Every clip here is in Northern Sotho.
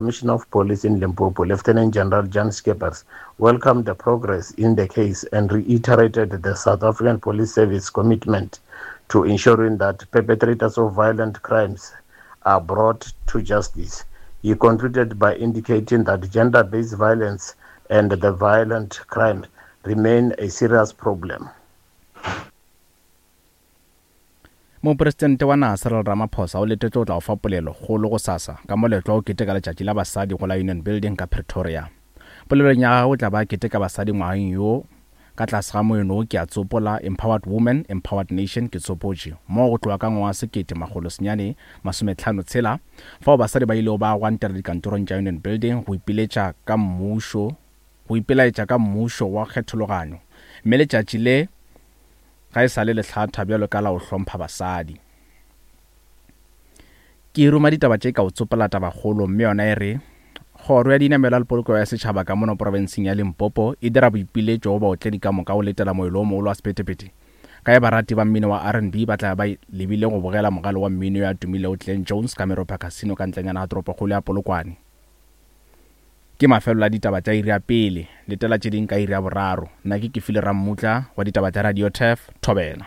Commissioner of Police in Limpopo, Lieutenant General Jan Skeepers, welcomed the progress in the case and reiterated the South African Police Service commitment to ensuring that perpetrators of violent crimes are brought to justice. He concluded by indicating that gender-based violence and the violent crime remain a serious problem. Mopresidente wa naga Cyril Ramaphosa o letetšwe go tla go fa polelo kgolo gosasa ka moletlo wa go keteka letšatši la basadi go la Union Building ka Pretoria. Polelong ya gagwe o tla ba a keteka basadi ngwageng yo ka tlase ga moeno wo Ke a Tsopola, Empowered Woman, Empowered Nation, Ke Tsopotše, moo go tloga ka ngwaga wa 1956 fao basadi ba ilego ba gwantela dikantorong tša Union Building go ipiletša ka mmušo go ipelaetša ka mmušo wa kgethologanyo mme letšatši le Ga e sa le lehlatha bjalo ka la go hlompha basadi. Ke ruma ditaba tše ka o tsopola tabakgolo mme yona e re, Kgoro ya Dinamelwa le Polokego ya Setšhaba ka mono profenseng ya Limpopo e dira boipiletšo go baotledi ka moka go letela moelo o mogolo wa sephethephethe ka ge barati ba mmino wa RnB ba tla ba lebile go bogela mogale wa mmino yo a tumilego Glen Jones ka Meropa Casino ka ntlenyana ga toropokgolo ya Polokwane. Ke mafelelo a ditaba tša iri ya pele. Letela tše ding ka iri ya boraro. Nna ke Kefile Rammutla wa ditaba tša Radio Turf, Thobela.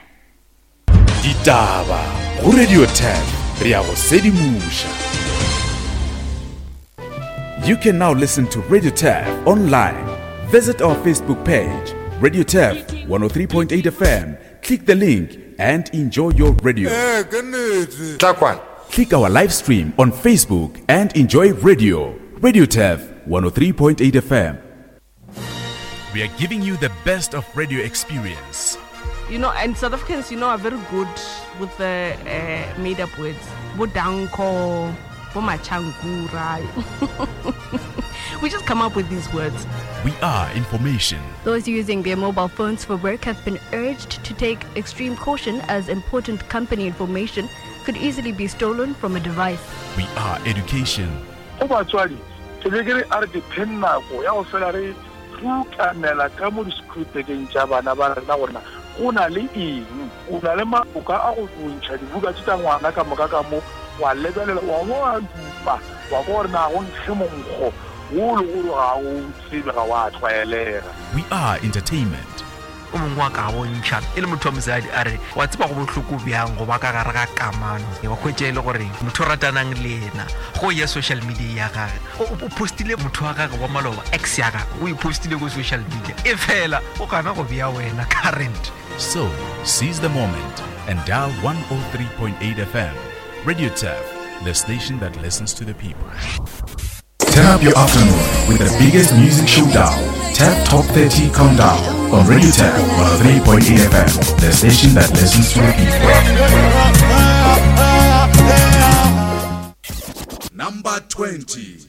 Ditaba go Radio Turf, re a go sedimoša. You can now listen to Radio Turf online. Visit our Facebook page, Radio Turf 103.8 FM. Click the link and enjoy your radio. Eh, ke nnete. Tla kwana. Click our live stream on Facebook and enjoy radio. Radio Turf 103.8 FM. We are giving you the best of radio experience. You know, and South Africans, you know, are very good with the uh, made up words. Bodanko, Bomachankura. we just come up with these words. We are information. Those using their mobile phones for work have been urged to take extreme caution as important company information could easily be stolen from a device. We are education. Go batswadi, ke be ke re a re dipheng nako ya go fela re rukanela ka mo disekhurupekeng tša bana ba rena gore na go na le eng. O na le maloka a go ntšha dibuka tše tša ngwana ka moka ka mo, wa lebelela, wa bo wa dupa, wa kwa gore na go nkge monkgo wo le gore ga o tsebe, ga wa tlwaelega. We are entertainment. O mongwe wa ka bontšha e le motho wa mosadi a re, Wa tseba go bohloko bjang go ba ka gare ga kamano, wa hwetša e le gore motho o ratanang le yena go ya social media ya gage o postile motho wa gage wa maloba, ex ya gage o e postile ko social media, e fela o gana go bea wena current. So, seize the moment and dial 103.8 FM. Radio Turf, the station that listens to the people. Turn up your afternoon with the biggest music showdown, Tap Top 30 Countdown on Radio Tap 103.8 FM, the station that listens to the people. Number 20.